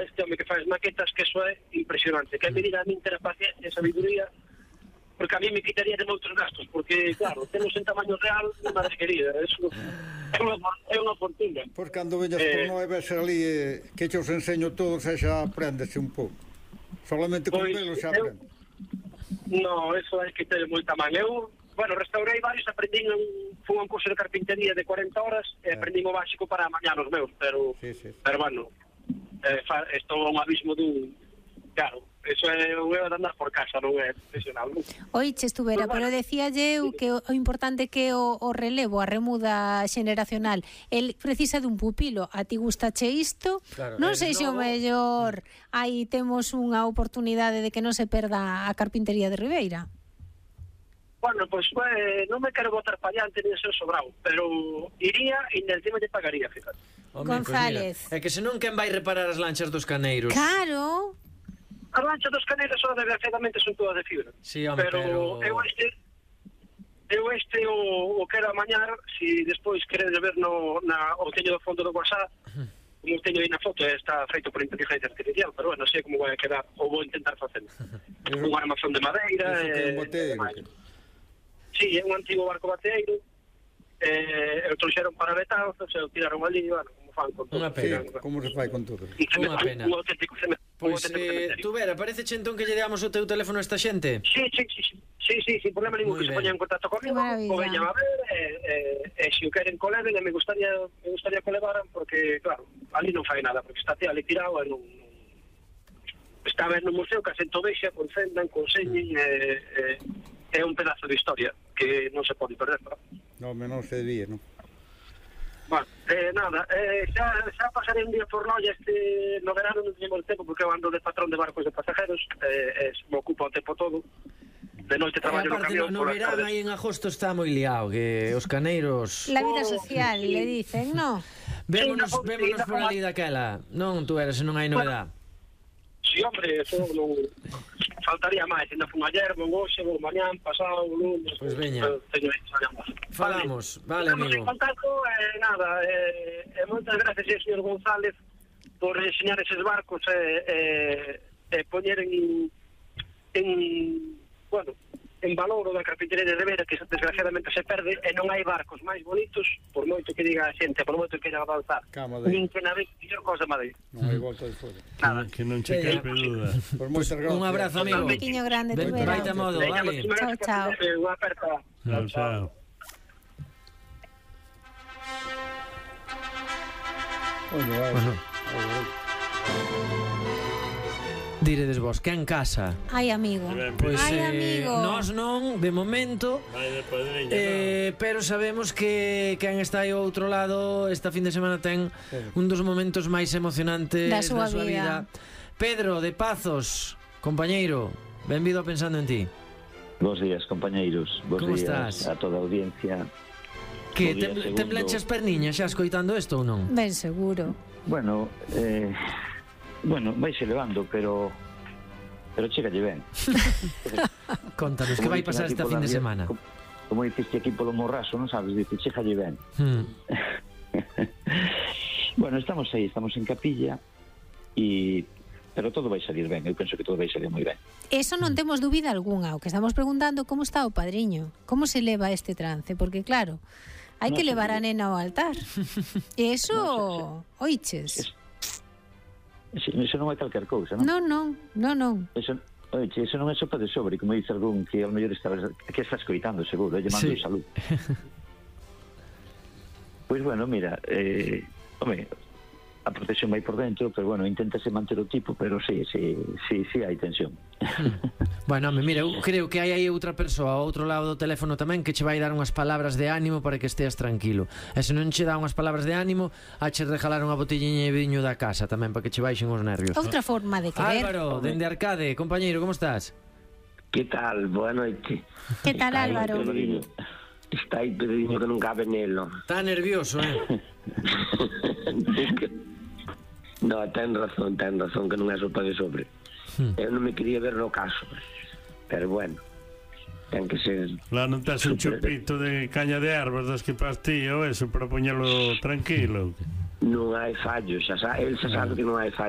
este home que faz maquetas, que eso é impresionante, que me diga a min ter a paciencia e sabiduría, porque a mí me quitaría de moitos gastos, porque, claro, temos en tamaño real, mi madre querida, eso é unha fortuna. Pois cando veñas por nós ves ali que os enseño todos e xa aprendese un pouco. Solamente con velo xa aprendes. No, eso hai que ter moita man. Eu, restaurei varios, fui a un curso de carpintería de 40 horas e aprendí o básico para amañar os meus, pero bueno, estou a un abismo dun... Claro, eso é o de andar por casa, non é profesional. Oiche, estuvera, pero decíalle eu que o importante que o relevo, a remuda xeneracional, el precisa dun pupilo. A ti gustache isto? Claro, non sei se o mellor aí temos unha oportunidade de que non se perda a carpintería de Ribeira. Bueno, pois non me quero botar pa diante ni ser sobrado, pero iría e encima te pagaría, fíjate. González. Pues mira, é que senón quen vai reparar as lanchas dos caneiros? Claro. As lanchas dos caneiros só desgraciadamente son todas de fibra. Sí, home, pero... Eu o quero amañar, se despois queredes ver o teño do fondo do WhatsApp, como teño aí na foto, está feito por inteligencia artificial, pero bueno, sei como vai a quedar, ou vou intentar facer. Un armazón de madeira... Sí, é un antigo barco bateeiro, o trouxeron para Betanzos, e o tiraron ali, bueno, como fan con todo. Unha pena. Sí, como se fai con todo. Unha pena. Pois, tú vera, parece entón que lle damos o teu teléfono a esta xente? Sí, sin problema ningún, que se poñan en contacto comigo, o veñan a ver, e se o queren coleven, me gustaría que o levaran, porque, claro, ali non fai nada, porque está ali tirado, e non... Está a ver no museo que a xente o vexa, concendan, conseñen, é un pedazo de historia que non se pode perder, non? Non se debía, non? Bueno, nada, xa pasaré un día por Noia no verano, non teñemos tempo porque eu ando de patrón de barcos de pasajeros, me ocupo o tempo todo, de noite traballo no camión. No verano aí en agosto está moi liado, que os caneiros... La vida social, le dicen, non? Vémonos por ali daquela, non, tú eres, non hai novedad. Sí, hombre, eso non... Faltaría máis, ainda fun ayer, vou hoxe, vou mañán, pasado, lunes... Pois veña. Falamos, vale, amigo. Estamos en contacto, nada, moitas gracias, señor González, por enseñar eses barcos e poñer en valor o da carpintería de Ribeira, que desgraciadamente se perde, e non hai barcos máis bonitos, por moito que diga a xente, por moito que queira avanzar, nin que na vez mellor cosa Madrid. Non hai volta de fora. Que non che caipe duda. Un abrazo, amigo. Un pequeño grande, te verá. Vaite a modo, vale. Chao, chao. Unha aperta. Chao. Bueno. Diredes vos, que en casa? Ai, amigo. Pois amigo. nós non, de momento, pero sabemos que quen está aí ao outro lado esta fin de semana ten un dos momentos máis emocionantes da súa vida. Pedro, de Pazos, compañeiro, benvido a Pensando en Ti. Bos días, compañeiros. Bos Como días estás? A toda a audiencia. Que temblanche as perniñas xa escoitando isto ou non? Ben seguro. Bueno, vaise levando, pero chégalle ben. Contanos, que vai pasar esta fin de semana? Como diciste aquí polo morraso, non sabes, dice, chégalle ben. Bueno, estamos aí, estamos en capilla, pero todo vai salir ben, eu penso que todo vai salir moi ben. Eso non temos dúbida algunha, o que estamos preguntando como está o padriño, como se leva este trance, porque claro, hai que levar a nena ao altar. E eso, oiches. Eso non é calquer cousa, non? Non. Eso non é sopa de sobre, como dice algún que ao mellor está escoitando, seguro, llamando salud. Pois bueno, mira, a protección vai por dentro, pero bueno, inténtase manter o tipo, pero sí hai tensión. Bueno, home, mira, eu creo que hai aí outra persoa ao outro lado do teléfono tamén que che vai dar unhas palabras de ánimo para que esteas tranquilo. E se non che dá unhas palabras de ánimo, hache regalar unha botelliña de viño da casa tamén para que che baixen os nervios. Outra forma de querer. Álvaro, dende Arcade, compañeiro, como estás? Que tal? Boa noite. Que tal, Álvaro? Está aí Pedriño que non cabe nelo. Está nervioso, No, ten razón, que non é sopa de sobre. Eu non me quería ver no caso, pero bueno, ten que ser... Lá non tes un chupito de caña de ervas das que pastillo, eso, para poñelo tranquilo. Non hai fallo, el xa sabe que non hai fallo.